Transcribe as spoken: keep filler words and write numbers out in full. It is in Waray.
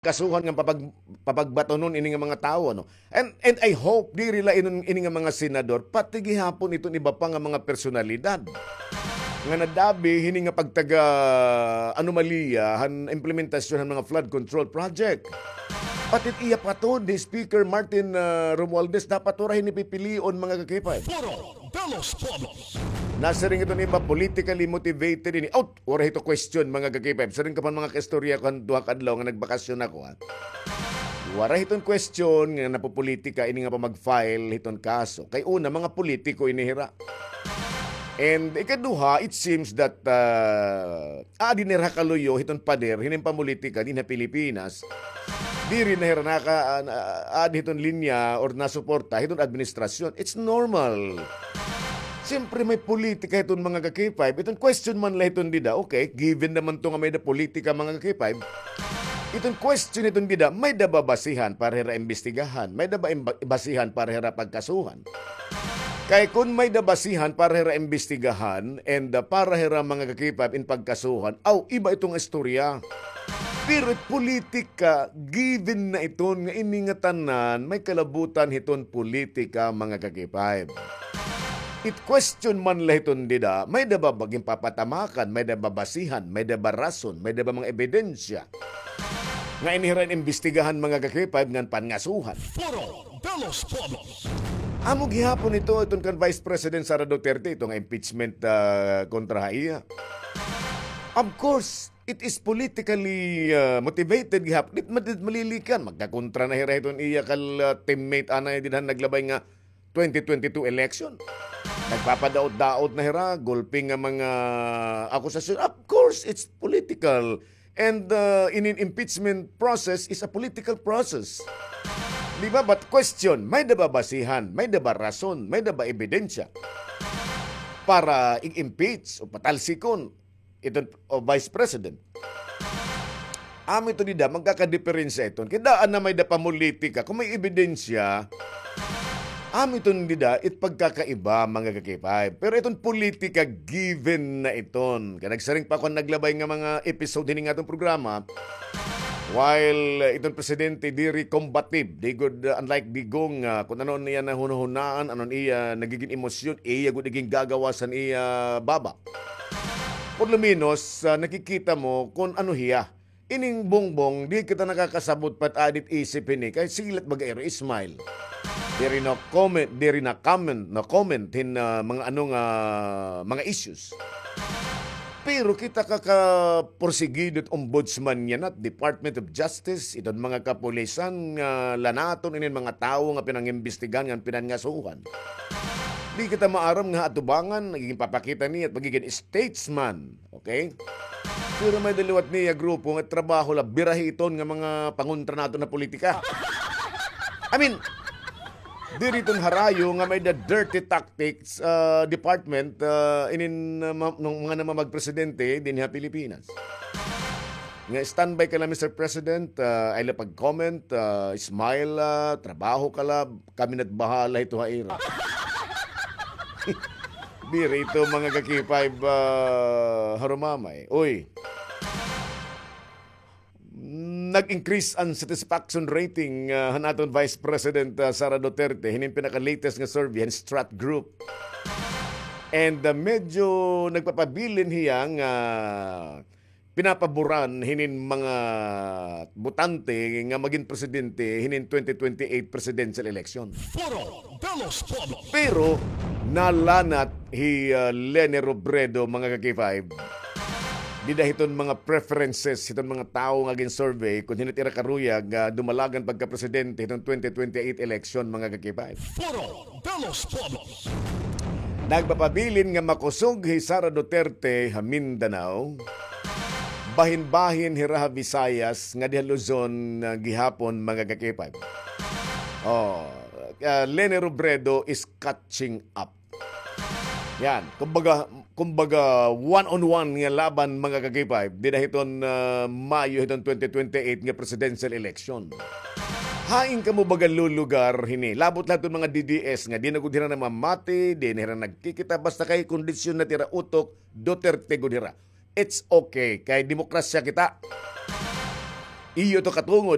kasuhan nga papag-, papagbatunon ini nga mga tawo, no? And, and I hope diri la inon, ini nga mga senador, pati gihapon iton iba pa nga mga personalidad nga nadabi hini nga pagtaga anomalya han implementasyon han mga flood control project. Pati iya pa to, di Speaker Martin, ah, Romualdez, dapat wara hini pipilion, mga ka-K five. Foro de los Pueblos. Nasiring iton iba, politically motivated ini. Out! Wara hito question, mga ka-K five. Siring ka pa mga kaistorya ko han duha ka adlaw nga nagbakasyon ako, ha. Wara hiton question nga napopolitika ini nga pamag-file hiton kaso. Kay una, mga politiko ini hira. And ikaduha, it seems that, ah, adi na hira kaluyo hiton pader hinin pamulitika dinhi ha Pilipinas. Diri na hira naka-, ah, adi hiton linya or nasuporta hiton administrasyon. It's normal. Siyempre, may politika hiton mga ka-K five. Iton question man la hiton dida. Okay, given naman to nga may-ada politika, mga ka-K five. Iton question hiton dida, may-ada ba basihan para hira imbestigahan? May-ada ba imba-, basihan para hira pagkasuhan? Kay kun may-ada basihan para hira imbestigahan and, ah, para hira mga ka-K five in pagkasuhan, aw, iba iton istorya. Pero it politika, given na iton nga ini nga tanan, may kalabutan hiton politika, mga ka-K five. It question man la hiton dida, may-ada ba ginpapatamakan, may-ada ba basihan, may-ada ba rason, may-ada ba mga ebidensya nga ini hira in imbestigahan, mga ka-K five, ngan pangasuhan? Foro de los Pueblos. Amo gihapon ito, iton kan Vice President Sara Duterte, ito nga impeachment, ah, kontra ha iya. Of course, it is politically, ah, motivated gihapon. Di, di malilikan, magkakontra na hira hiton iya kal, ah, teammate anay dinhi han naglabay nga twenty twenty-two election. Nagpapadaot-daot na hira, gulpi nga mga akusasyon. Of course, it's political. And, uh, in an impeachment process is a political process. Di ba? But question, may-ada ba basihan, may-ada ba rason, may-ada ba ebidensya para i-impeach o patalsikon iton, o, Vice President? Amo ito dida, magkakadiperensya iton. Kay daan na may-ada pamulitika. Kung may ebidensya, amo iton dida, it pagkakaiba, mga ka-K five. Pero iton politika, given na iton. Kay nagsiring pa ako naglabay nga mga episode hini nga aton programa, while, uh, iton presidente diri combative, di gud, uh, unlike Digong, uh, kun ano niya nahunahunaan, ano niya nagigin emosyon, iya gud igin gagawas han iya baba. Por lo menos, ah, nakikita mo kun ano hiya. Ining Bongbong, di kita nakakasabot pa it adi it isip hini. Kay silat baga ira, smile. Diri na comment, diri na comment, na comment hin, ah, mga ano nga, mga issues. Pero kita kakaporsigido it ombudsman yana, Department of Justice, iton mga kapulisan nga lanaton inin mga tawo nga pinangimbestigahan, nga pinangasuhan. Di kita maaram nga atubangan, nagigin papakita niya it pagigin statesman. Okay? Pero may-ada liwat niya grupo nga trabaho la birahi iton nga mga pangontra naton ha politika. I mean, diri iton harayo nga may-ada dirty tactics, ah, department, ah, inin, ah, ma-, ng mga namamagpresidente dinhi ha Pilipinas. Nga standby ka la, Mister President, ah, ay la pag-comment, ah, smile la, trabaho ka la, kami na't bahala hito ha ira. Diri ito, mga ka-K five, ah, harumamay. Uy. Nag-increase an satisfaction rating, ah, han aton Vice President, ah, Sara Duterte, hinin pinaka-latest nga survey han Strat Group. And, ah, medyo nagpapabilin hiya nga pinapaboran hinin mga botante nga magin presidente hinin twenty twenty-eight presidential election. Foro de los Pueblos. Pero nalanat hi, ah, Leni Robredo, mga ka-K five. Dida hiton mga preferences hiton mga tawo nga gin-survey kun hin-o it ira karuyag nga dumalagan pagka-presidente hiton twenty twenty-eight election, mga ka-K five. Foro de los Pueblos. Nagpapabilin nga makusog hi Sara Duterte ha Mindanao. Bahin-bahin hira ha Visayas, ngadi ha Luzon, ah, gihapon, mga ka-K five. Oh, ah, Leni Robredo is catching up. Yan, kumbaga, kumbaga, one on one nga laban, mga ka-K five, dida hiton, ah, Mayo hiton twenty twenty-eight nga presidential election. Hain kamo baga lulugar hini? Labot la hiton mga D D S nga di na gud hira namamati, di na hira nagkikita, basta kay kondisyon na it ira utok, Duterte gud hira. It's okay, kay demokrasya kita. Iyo to katungod,